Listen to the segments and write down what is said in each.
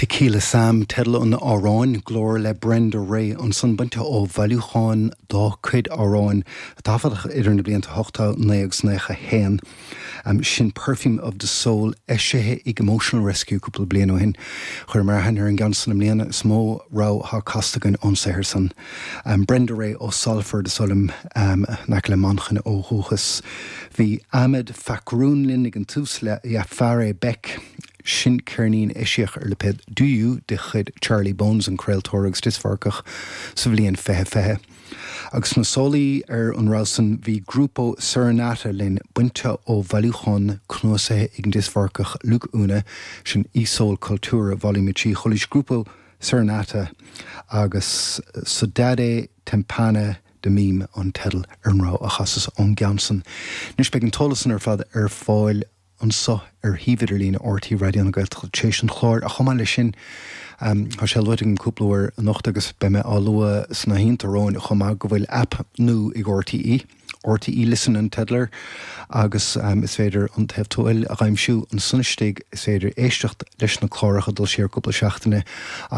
Tequila Sam, teideal an amhráin, glór le Brenda Rae ansan, bainte ó bhailiúchán dá cuid amhráin a taifeadadh idir na blianta 89 agus 91. Sin Perfume of the Soul, eisithe ag Emotional Rescue cúpla bliain ó shin. Chuireamar aithne ar an gceann san i mbliana, is mó rogha atá casta againn ón saothar san. Brenda Rae ó Salford, is dóigh liom, in aice le Manchain ó dhúchas. Bhí Ahmed Fakroun linn ag an tús le Jafare Beck. Sin ceirnín a eisíodh ar lipéad Do You de chuid Charlie Bones, an craoltóir agus dioscmharcach, sa bhliain 2020. Agus sna sólaí ar an rogha san bhí Gruppo Serenata linn, bainte ó bhailiúchán cnuasaithe ag an dioscmharcach Luke Una, sin E-Soul Cultura Volume 3. Chualaís Gruppo Serenata agus Saudade Tempana de Mim an teideal ar an rogha a chasas ón gceann san. Anois beidh an t-eolas san ar fad ar fáil anseo ar shuíomh idirlíne RTÉ Raidió na Gaeltachta tar éis an chláir ach chomh maith leis sin tá sé luaite agam cúpla uair anocht agus beidh mé á lua sna hoícheanta romhainn chomh maith go bhfuil aip nua ag RTÉ, RTÉ Listen an teideal air agus is féidir an Taobh Tuathail a dh'aimsiú ansan istigh, is féidir éisteacht leis na cláracha dul siar cúpla seachtaine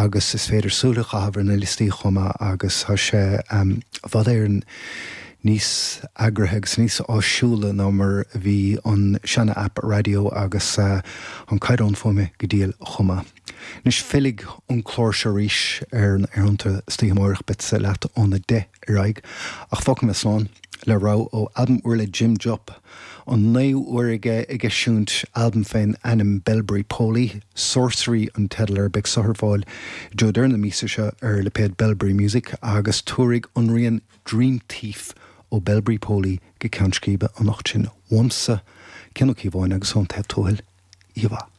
agus is féidir súil a chaitheamh ar na liostaí chomh maith agus tá sé i bhfad Éireann níos eagraithe agus níos áisiúla ná mar a bhí an seana-aip raidió agus an caighdeán fuaime go diail chomh maith. Anois fillfidh an clár seo arís ar na haerthonnta istoíche amáireach, beadsa leat óna 10 ar aghaidh ach fágfaidh mé slán le rogha ó albam úr le Jim Jupp, an naoú huair aige ag eisiúint albam fén ainm Belbury Poly, Sorcery an teideal air, beidh so ar fáil i dtreo deireadh na míosa seo ar lipéad Belbury Music agus tabharfaidh an rian Dream Thief ó Belbury Poly go ceann scríbe anocht sinn. Uaimse, Cian Ó Cíobháin agus ón Taobh Tuathail, oíche mhaith.